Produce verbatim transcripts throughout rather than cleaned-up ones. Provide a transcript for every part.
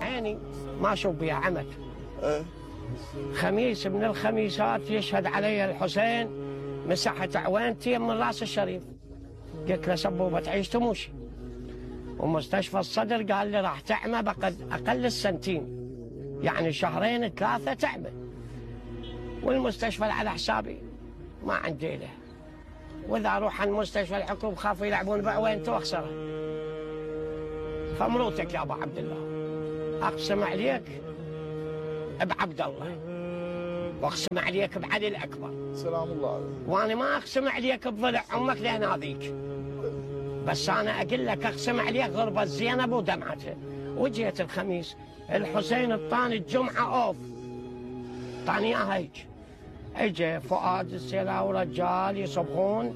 عيني ما اشوف بها عمل. خميس من الخميسات يشهد علي الحسين مسحت عوينتي من راس الشريف. قلت له سبوبه تعيش تموشي. ومستشفى الصدر قال لي راح تعمى بقد اقل السنتين، يعني شهرين ثلاثه تعمى. والمستشفى على حسابي ما عندي له، واذا اروح عند مستشفى الحكومه خافوا يلعبون بعوينته واخسرها. فمروتك يا ابو عبد الله اقسم عليك بعبد الله، واقسم عليك بعلي الاكبر. سلام الله عليك. وانا ما اقسم عليك بضلع امك لهناذيك، بس انا اقول لك اقسم عليك غربه زينب ودمعتها. وجيت الخميس الحسين الطاني الجمعه اوف، طاني اياها هيك. اجى فؤاد السيلاوي رجال يصبغون،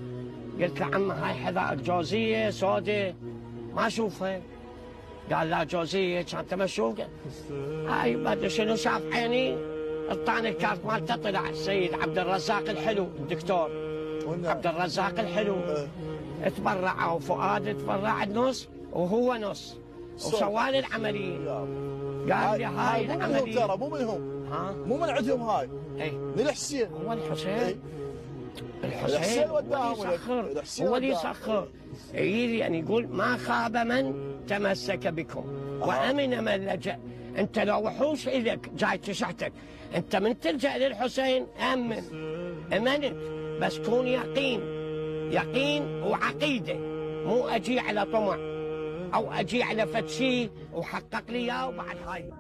قلت له عمه هاي حذائك جوزيه سوداء ما اشوفها. قال لا جوزيه كان تبى تشوف. هاي ما ادري شنو شاف عيني الطاني الكارت مالته طلع السيد عبد الرزاق الحلو الدكتور عبد الرزاق الحلو. تبرعوا فؤاد تبرع النص وهو نص وسوالي العمليه. قال لي هاي العمليه ترى مو منهم، ها مو من عندهم هاي. اي من الحسين. هو الحسين ايه؟ الحسين, الحسين هو اللي يسخر، هو اللي يسخر. يعني يقول ما خاب من تمسك بكم وامن من لجأ. انت لو وحوش الك جاي تشحتك، انت من تلجأ للحسين امن امنت، بس كون يقين يقين وعقيده، مو اجي على طمع او اجي على فد شيء وحقق لي اياه وبعد هاي